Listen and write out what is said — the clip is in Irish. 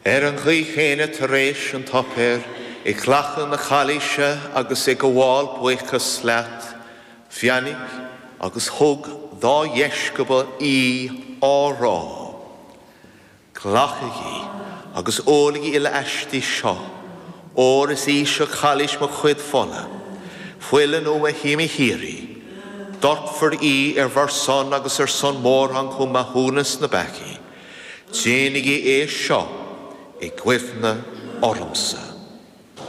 Ar an gcaoi chéanna tar éis an tsuipéir, ag glacadh na cailíse agus ag gabháil buíochas leat, bheannaigh agus thug dá dheisceabail í á rá, Glacaigí agus ólaigí uile aisti seo, óir is í seo cailís mo chuid fola, fuil an fhogha shíoraí. Doirtfear í ar bhur son agus ar son mórán chun maithiúnas na bpeacaí. Déanaigí é seo i gcuimhne ormsa.